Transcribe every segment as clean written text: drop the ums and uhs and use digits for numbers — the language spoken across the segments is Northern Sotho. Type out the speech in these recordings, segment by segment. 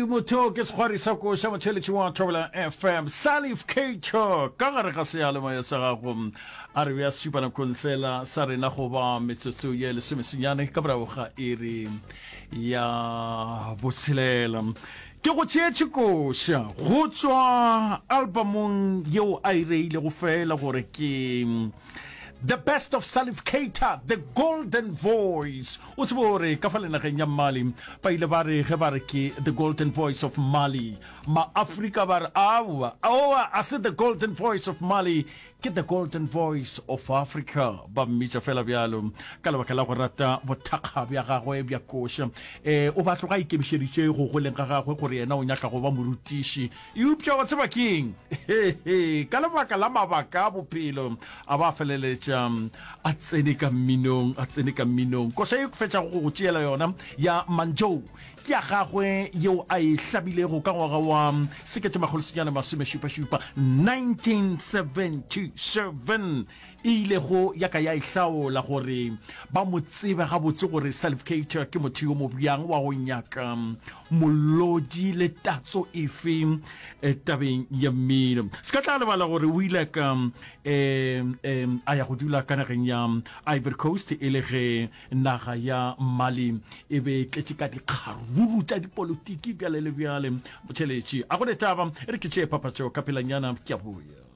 motho ke sekgwari sa koša motheletši wa Thobela FM Salif Keita ka gare ga seyalemoya sa gago a re bja supa nakong sela sa rena go ba metsotso ye lesomesenyane ka morago ga iri ya botshelela ke go tšeetše koša go tšwa albumong yeo a e reilego fela gore ke The Best of Salif Keita, The Golden Voice. O tsebe gore ka fa lenageng ya Mali ba ile ba re ge ba re ke The Golden Voice of Mali, Ma-Afrika ba re aowa, aowa, a se The Golden Voice of Mali, ke The Golden Voice of Africa. Ba mmitša fela bjalo ka lebaka la go rata bothakga bja gagwe bja koša. E, o ba tloga a ikemišeditše go goleng ga gagwe gore yena o nyaka go ba morutiši. Eupša wa tseba ke eng? Hehe, ka lebaka la mabaka a bophelo, a ba feleletša a tsene ka mminong, a tsene ka mminong. Koša ye ke fetšago go go tšeela yona ya Manjou ke ya gagwe yeo a e hlabilego ka ngwaga wa 1977, 1977, e ilego ya ka ya e hlaola gore ba mo tsebe gabotse gore Salif Keita ke motho yo mobjang wa go nyaka molodi le tatso efe eh, tabeng ya mmino. Se ka tla lebala gore o ile ka eh, eh, a ya go dula ka nageng ya Ivory Coast e le ge naga ya Mali e be e tletše ka dikgaruru tša dipolotiki bjale le bjale. Motšheletši a go ne taba e re ke tšee papatšo ka pelanyana ke a boya.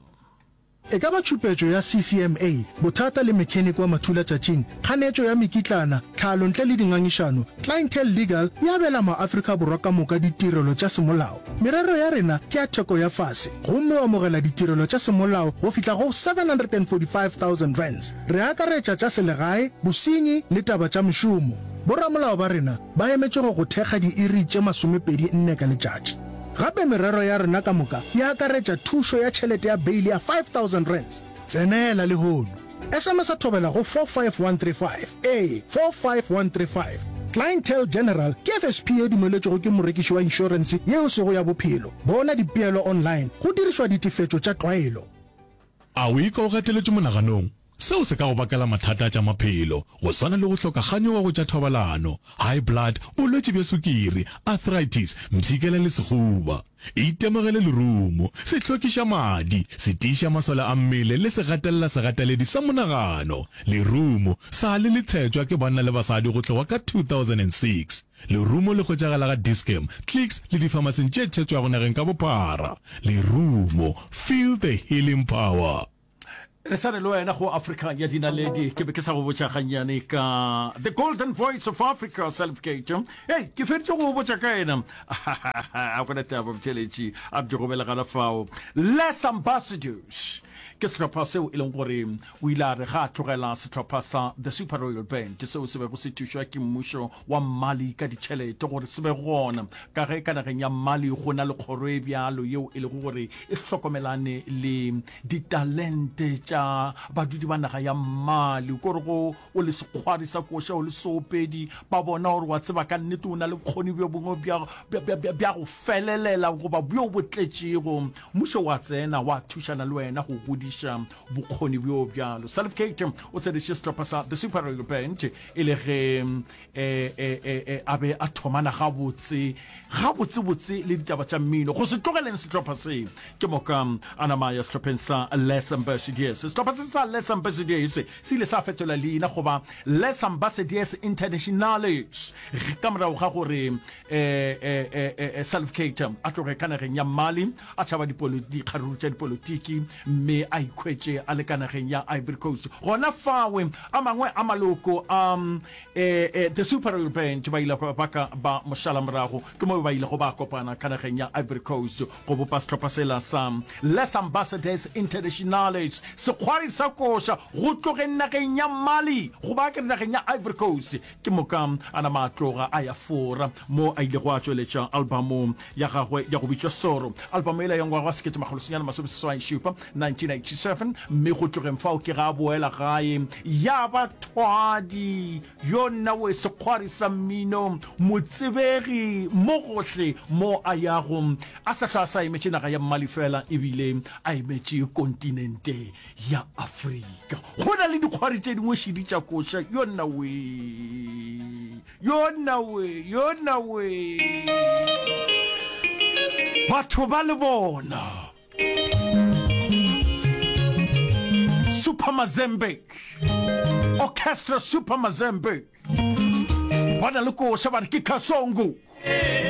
E ka ba tšhupetšo ya CCMA, bothata le mekheniki wa mathulatšatšing, kganetšo ya mekitlana, tlhalo ntle le dingangišano, Clientele Legal e abela maAfrika Borwa ka moka ditirelo tša semolao. Merero ya rena ke ya theko ya fase gomme o amogela ditirelo tša semolao go fihla go R745,000. Re akaretša tša selegae, bosenyi le taba tša mešomo. Boramolao ba rena ba emetše go go thekga diiri tše masomepedi nne ka letšatši. Gape merero ya rena ka moka e akaretša thušo ya tšhelete ya beili ya R5000. Tsenela lehono. SMS-a Thobela go 45135. Ee, 45135. Clientele General ke FSP ye dumeletšwego ke morekiši wa inšorense ye e sego ya bophelo. Bona dipeelo online go dirišwa ditefetšo tša tlwaelo. A o ikwa o gateletšwe monaganong? Seo se ka go bakela mathata a tša maphelo, go swana le go hloka kganyogo go tša thobalano, high blood, bolwetši bja sukiri, arthritis, mpshikela le sehuba. Itemogele lerumo, se hlwekiša madi, se tiiša masole a mmele le se gatelela segateledi sa monagano. Lerumo sa le le tshetšwa ke banna le basadi go tloga ka 2006. Lerumo le hwetšagala ga Dis-Chem, Clicks le difamasing tše tshetšwago nageng ka bophara. Lerumo, feel the healing power. Re sa re le wena go Africa ya dinaledi. Ke be ke sa go botša gannyane ka The Golden Voice of Africa, Salif Keita. Hei, ke feditše go botša ka yena. A gona taba botheletši a bjo go belegana fao. Les Ambassadors ke sehlopha seo e leng gore o ile a re ga a tlogela sehlopha sa The Super Royal Band seo se bego se thušwa ke mmušo wa Mali ka ditšhelete gore se be gona ka ge ka nageng ya Mali go na le kgoro e bjalo yeo e lego gore e hlokomelane le Ditalente tša badudi ba naga ya Mali, ko re go o le sekgwari sa koša, o le seopedi, ba bona gore wa tseba ka nnete o na le bokgoni bjo bongwe bja, bja, bja, bja, bja go felelela goba bjo bo tletšego. Mmušo wa tsena wa thušana le wena go godiša bokgoni bjo bjalo. Salif Keita o tsenetše sehlopha sa The Super Royal Band e le ge e, e, e, e, a be a thomana gabotse, gabotsebotse le ditaba tša mmino. Go se tlogeleng sehlopha se, ke moka a nama a ya sehlopheng sa Les Ambassadeurs. Sehlopha se sa Les Ambassadeurs se ile sa fetola leina go ba Les Ambassadeurs Internationales ka morago ga gore e, e, e, e, e, Salif Keita a tloge ka nageng ya Mali, a tšhaba dikgaruru tša dipolotiki mme a ikhwetše a le ka nageng ya Ivory Coast. Gona fawe, a mangwe a maloko a E, e, The Super Royal Band ba ile ba ka ba mošala morago, ke mo ba ilego ba kopana ka nageng ya Ivory Coast go bopa sehlopha sela sa Les Ambassadeurs Internationales, sekgwari sa koša go tlogeng nageng ya Mali go ba ke re nageng ya Ivory Coast. Ke moka a nama a tloga a ya Fora mo a ilego a tšweletša albamo ya gagwe ya go bitšwa Soro, albamo yela ya ngwaga wa 1987, 1987, mme go tlogeng fao ke ga a boela gae ya ba thwadi yo nna we sekgwari sa mmino, motsebegi mo gohle mo a yago, a sa hlwa a sa emetše naga ya Mali fela ebile a emetše kontinente ya Afrika. Go na le dikgwari tše dingwe šidi tša koša yo nna we. Yo nna we, yo nna we. Batho ba le bona. Super Mazembe. Orchestra Super Mazembe. Ba na le koša ba re ke Kasongo.